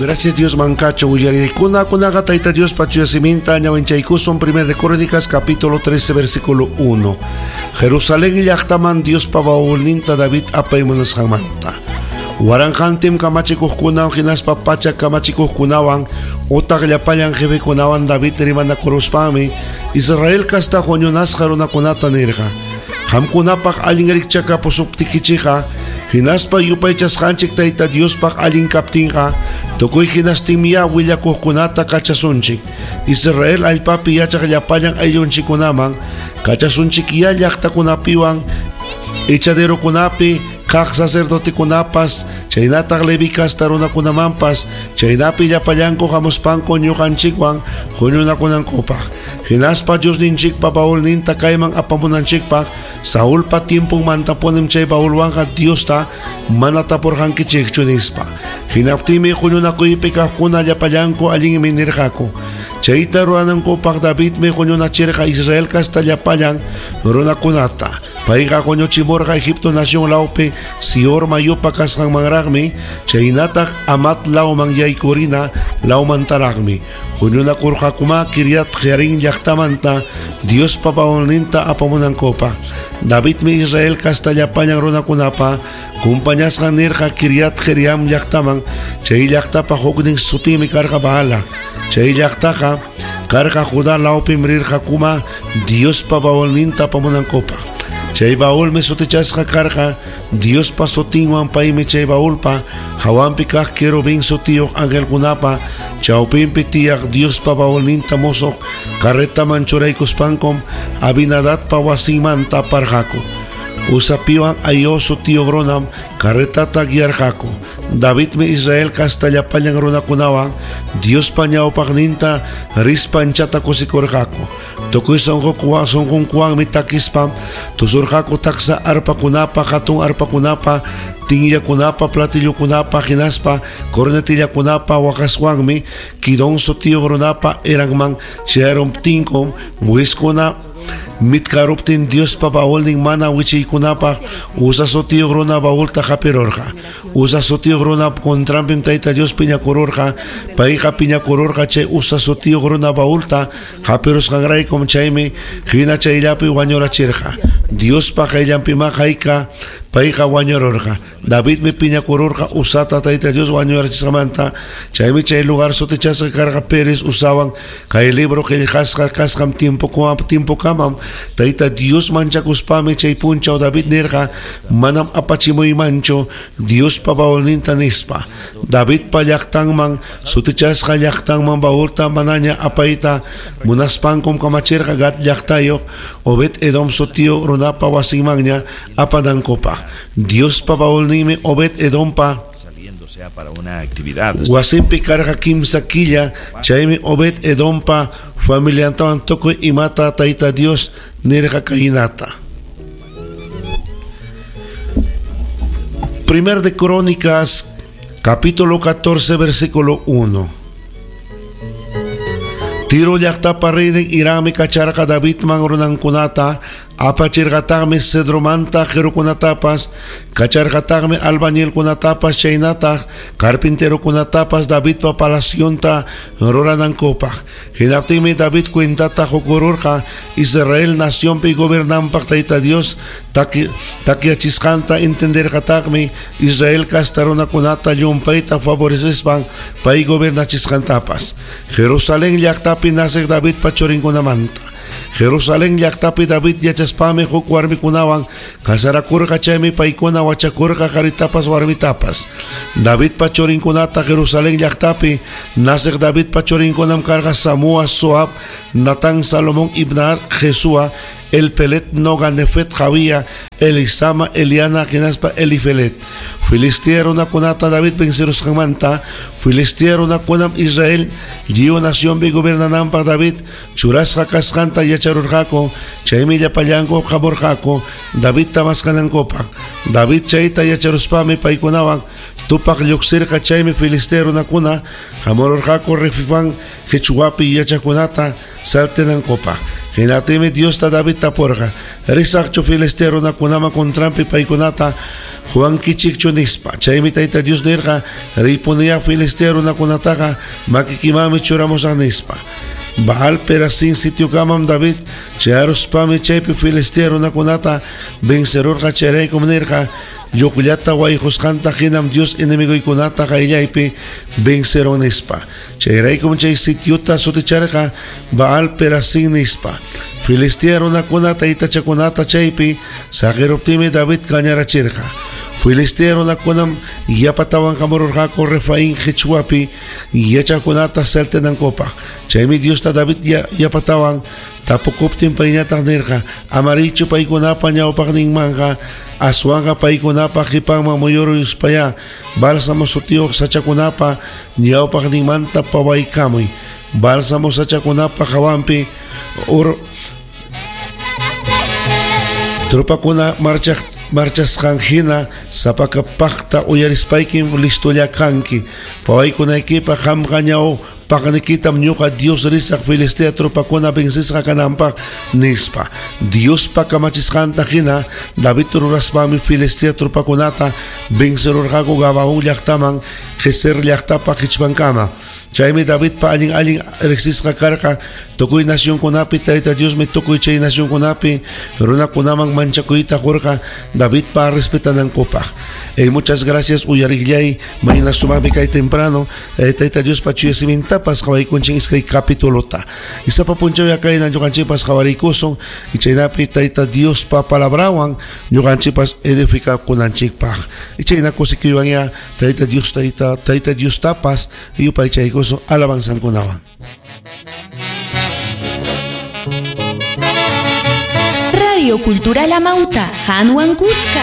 Gracias Dios mancacho uyarikuna kunaqa Tayta Diospa chuya siminta ñawinchaykusun primer de Crónicas capítulo 13 versículo 1. Jerusalén llaqtaman Diospa baúlninta David apaymunasqanmanta. Waranqantim kamachikuqkunawan hinaspa pacha kamachikuqkunawan utaq llapallan jefekunawan David rimanakuruspanmi Israel kasta huñunasqa runakunata nirqa. Qamkunapaq allin rikchakapusuptikichikqa hinaspa yupaychasqanchik Tayta Diospaq allin kaptinqa tukuy hinastinmiya willakuqkunata kachasunchik. Israel allpapi yachaq llapallan ayllunchikkunaman kachasunchikyá llaqtakunapiwan echaderokunapi kaq sacerdotekunapas chaynataq Leví kasta runakunamanpas chaynapi llapallanku hamuspanku ñuqanchikwan huñunakunankupaq. Hinaspa Diosninchikpa baúlninta kayman apamunanchikpaq Saulpa tiemponmantapunim chay baúlwanqa Diosta mana tapurqankichikchu nispa. Hinaptinmi huñunakuypi kaqkuna llapallanku allinmi nirqaku. Chayta ruranankupaq Davidmi huñunachirqa Israel kasta llapallan runakunata. Payqa huñuchimurqa Egipto nación lawpi Sior mayupa kasqanmanraqmi chaynataq Amat lawman yaykurina lawmantaraqmi. Huñunakurqakuma Kiryat Jearim llaqtamanta Diospa baúlninta apamunankupaq. Davidmi Israel kasta llapallan runakunapa kumpañasqan nirqa Kiryat Jearim llaqtaman chay llaqtapa huknin sutimi karqa Baala. Chay llaqtaqa karqa Judá lawpim rirqakuma Diospa baúlninta apamunankupaq. Chay baúlmi sutichasqa karqa Diospa sutinwan paymi chay baúlpa hawanpi kaq querubín sutiyuq angelkunapa chawpinpi tiyaq Diospa baúlninta musuq carretaman churaykuspankum Abinadabpa wasinmanta aparqaku. Usapiwan Ahío sutiyuq runam carretata guiarqaku. Davidmi Israel kasta llapallan runakunawan Diospa ñawpaqninta rispa anchata kusikurqaku. Tukuy sunqunkuwanmi takispam tusurqaku taksa arpakunapa, hatun arpakunapa, tinyakunapa, platillokunapa, hinaspa cornetillakunapa waqaswanmi Kidón sutiyuq runapa eranman chayaruptinkum buiskuna mitkaruptin Diospa baúlnin mana wichiykunapaq Uza sutiyuq runa baúlta hapirurqa. Uza sutiyuq runa contranpim Tayta Dios piñakururqa. Payqa piñakururqa chay Uza sutiyuq runa baúlta hapirusqanraykum chaymi hina chayllapi wañurachirqa. Diospa qayllanpima hayka payqa wañururqa. Davidmi piñakururqa Uzata Tayta Dios wañurachisqamanta. Chaymi chay lugar sutichasqa karqa Pérez Uzawan kay libro qillqasqa kasqan tiempokamam Tayta Dios manchakuspami chay punchaw David nirqa manam apachimuymanchu Diospa baúlninta nispa. Davidpa llaqtanman sutichasqa llaqtanman baúlta manaña apayta munaspankum kamachirqa Gad llaqtayuq Obed Edom sutiyuq runapa wasinmanña apanankupaq. Diospa baúlninmi Obed Edompa saliendo sea para una actividad. Wasinpi karqa kimsa killa chaymi Obed Edompa familiantawan tukuy imata Tayta Dios nirqa kaynata. Primer de Crónicas capítulo 14 versículo 1. Tiro llaqtapa reynin Hirammi kacharqa Davidman runankunata apachirqataqmi cedromanta qirukunatapas kacharqataqmi albañilkunatapas chaynataq carpinterokunatapas Davidpa palacionta ruranankupaq. Hinaptinmi David cuentata qukururqa Israel nacionpi gobernanpaq Tayta Dios takyachisqanta entenderqataqmi Israel kasta runakunata llumpayta favorecespan pay gobernachisqantapas. Jerusalén llaqtapi naciq Davidpa churinkunamanta. Jerusalén llaqtapi David yachaspami huk warmikunawan casarakurqa chaymi paykuna wachakurqa qaritapas warmitapas. Davidpa churinkunata Jerusalén llaqtapi naciq Davidpa churinkunam karqa Samúa, Soab, Natán, Salomón, Ibnar, Jesúa, Elpelet, Noga, Nefet, Javía, Elisama, Eliana, hinaspa Elifelet. Filistea runakunata David vencerusqanmanta, Filistea runakunam Israel lliw nacionpi gobernananpaq David churasqa kasqanta yacharurqaku, chaymi llapallanku hamurqaku Davidta maskanankupaq. David chayta yacharuspami paykunawan tupaq lluqsirqa chaymi Filistea runakuna hamururqaku Refifán qichwapi yachaqkunata saltenankupaq. Hinaptinmi Diosta David tapurqa, Risaqchu Filistea runakunaman contranpi paykunata huwankichikchu nispa. Chaymi Tayta Dios nirqa, Riypuniyá Filistea runakunataqa makikimanmi churamusaq nispa. Baal Perazín sitiokamam David chayaruspami chaypi Filistea runakunata vencerurqa. Chayraykum nirqa, Lluqllata wayqusqanta hinam Dios enemigoykunata qayllaypi vencerun nispa. Chayraykum chay sitiota suticharqa Baal Perazín nispa. Filistea runakuna taytachakunata chaypi saqiruptinmi David kañarachirqa. Filistea runakunam yapatawan hamururqaku Refaín qichwapi yachaqkunata saltenankupaq. Chaymi Diosta David yapatawan tapukuptin payñataq nirqa, Ama riychu paykunapa ñawpaqninmanqa, aswanqa paykunapa qipanman muyuruspayá bálsamo sutiyuq sachakunapa ñawpaqninmanta pawaykamuy. Bálsamo sachakunapa hawanpi ur tropakuna marchasqan hina sapakapaqta uyarispaykim listolla kanki. Pawaykunaykipaq qamqa ñawpaqnikitam ñuqa Dios risaq Filistea tropakuna vencisqa kananpaq nispa. Diospa kamachisqanta hina David ruraspami Filistea tropakunata vencerurqaku Gabaón llaqtaman Gezer llaqtapa qichpankama. Chaymi Davidpa allin allin riqsisqa karqa tukuy nacionkunapi. Tayta Diosmi tukuy chay nacionkunapi runakunaman manchakuyta qurqa Davidpa respetanankupaq. Muchas gracias uyariqllay, mañana sumaqmi kay temprano Tayta Diospa chuya simintapas qawaykunchik iskay capitulota. Y sapa punchaw kayna ñuqanchikpas qawariykusun y chaynapi Tayta Diospa palabrawan ñuqanchikpas edificakunanchikpaq. Y chayna kusikuywan ya Tayta Dios Tayta Diostapas yupaychaykusun alabanzankunawan. Radio Cultural Amauta, Hanwan Cusca.